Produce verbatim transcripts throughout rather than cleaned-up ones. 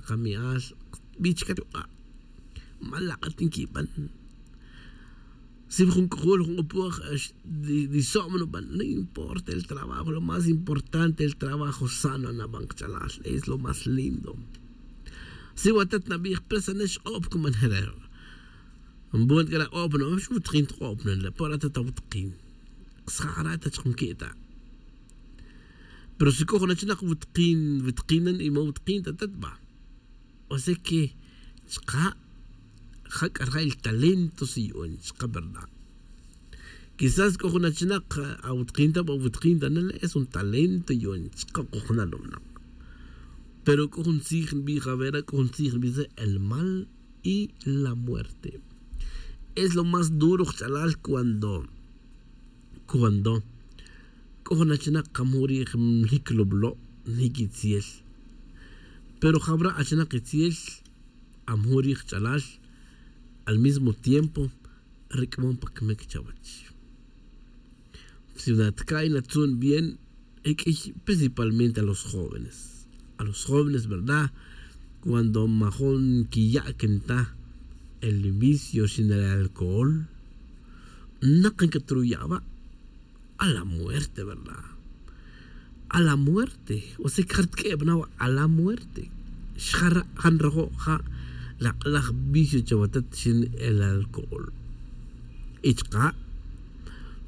kami'al, bi chike ruk'a'. Malak'a' tinquiban. Si jun c'ojol jun c'opoj, diso'm nuban, no importa el trabajo, lo más importante el trabajo sano naban kach'alal, es lo más lindo. Si watat nabij presanex k'op cuman jere'. Nbon c'a la k'op no xwutkin tk'op no le' por atat awutkin. Ksja' jara' ta chkmquita. Pero si c'o jun achinak wutkin wutkinan y ma wutkin ta tat ba. O sea que chka' ja c'a rja' el talento si yu'un chka verdad. Quizás c'o jun achinak awutkin ta ba wutkin ta na le' es un talento yu'un chka c'o jun alumnak. Pero c'o jun tzij nbij avera c'o jun tzij nbij el mal y la muerte. Es lo más duro kch'alal cuando cuando c'o jun achinak kamu' ri' njic lublo' njic itziel. Pero jabra' achinak itziel amu' ri' kch'alal al mismo tiempo ric'amon pa camic chawech. Si natka'y natzun bien e q'uiy principalmente a los jóvenes a los jóvenes verdad. Cuando majun quiya'quen ta el vicio xin el alcohol. Nakan que truya' va a la muerte verdad. A la muerte o sea que jartq'ueb na va a la muerte. Xjara' jan rojo' ja' lak'laj vicio chawatat xin el alcohol. Y chka'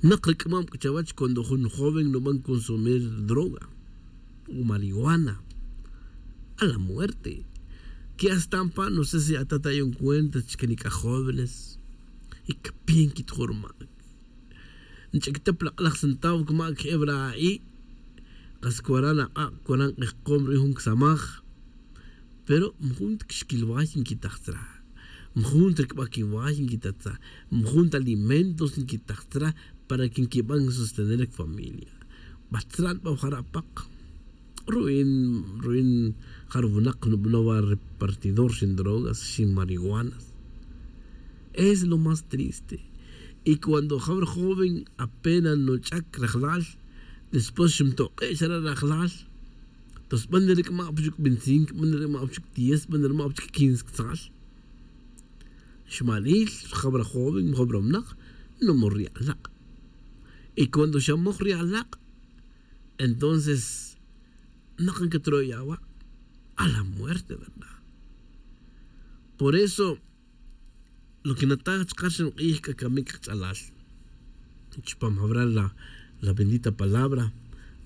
nak ric'amam c'a chawech cuando jun joven nuban consumir droga o marihuana a la muerte. Que hasta npa no sé si atat ayon cuenta chque nic'a jóvenes y cpin quitjurmac nch'ictep lak'laj sentav cmac jebra' a'i'. Kas cuaran ak'a' cuaran k'ejkom ru'in jun csamaj. Pero majun ta quixquilway nquitaj tzra. Majun ta ricbaquiway nquitaj tzra. Majun ta alimentos nquitaj tzra para que nquiban sostener cfamilia. Bat tzra nbaj jara' pak ru'in ru'in jarwinak nubanow a repartidor xin drogas xin marihuanas. Es lo más triste. Y cuando jabra joven apena nuch'ac rajlal después xmtok'e' xara' rajlal. Tos b'an ric'ma' pa chuc veinticinco b'an ric'ma' pa chuc diez b'an ric'ma' pa chuc quince ctzal. Xmalil jabra joven jabra mnak numor ri alak'. Y cuando xamoj ri alak' entonces nakan que troya' wa' a la muerte verdad. Por eso lo que nataj chkar xan k'ij k'a camic kach'alal chupam jabral la bendita palabra.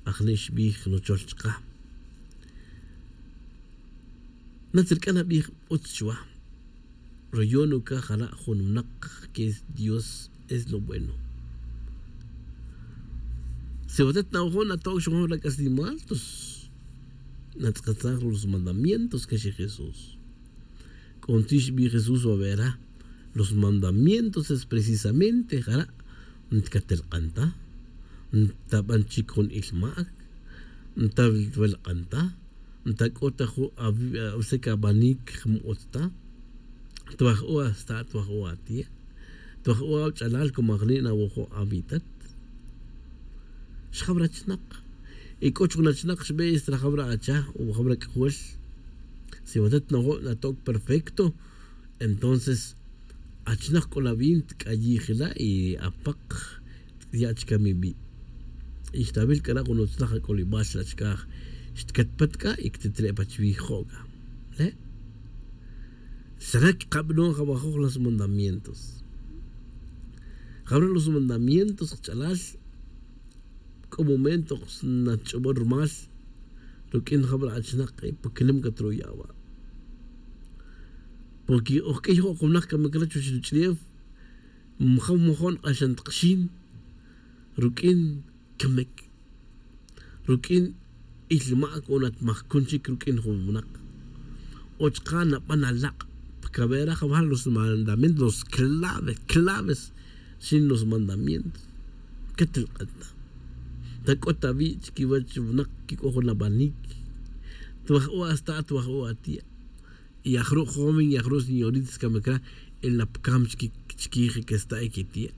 Ajni' xbij nuchol chka natzirc'a nabij utz chuwa. Royon ucaj jara' jun winak que es dios es lo bueno. Si watet nawajo' natoc xwajo' la c'aslimal tos natz'akatsaj los mandamientos que xij jesús. C'o ntzij xbij jesús wawera los mandamientos es precisamente jara' ntacatel k'an ta ntaban chic jun il mac nta welk'an ta nta c'o ta jun awesec abanic jmuk'ut ta. Twaj u asta' twaj u atie' twaj u awch'alal como ajni' nawojo' awitat. Xjabra chinak y c'o chuk nachinak xbe' estra jabra acha o jabra c'ajol. Si watet najo' natoc perfecto entonces achinak c'o la vin tk'ayij la' y apak ya' chkam ibi'. Y xtawil c'a la' jun utzlaj ac'olibal la' chkaj xtcatpat c'a y ctitre' pa chuwi' jo' c'a le' xra' ckabanon jawajoj los mandamientos. Jawra' los mandamientos kch'alal c'o momento natch'obon rumal ruq'uin jawra' achinak pa quilem c'a troya' wa'. Porque oj q'uiy jo' jun winak camic re chuwech ruch'ulef maja' majon k'axan tak xin ruq'uin camic ruq'uin ilmac o natmajcun chic ruq'uin jun winak. O chka' naban alak' pa cawera jawal los mandamientos los claves claves xin los mandamientos. Quetelk'an ta ta c'o ta wi' chiquiwech winak quic'o jun abanic. Twaj u asta' twaj u atie' y ajru' joven y ajru' señoritas camic re el napcam chiquij que esta' y que tie'.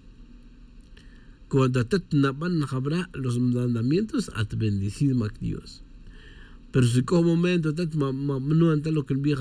Cuando atat naban jabra' los mandamientos at bendecido mac dios. Pero si c'o momento atat ma ma nuan ta lo que nbij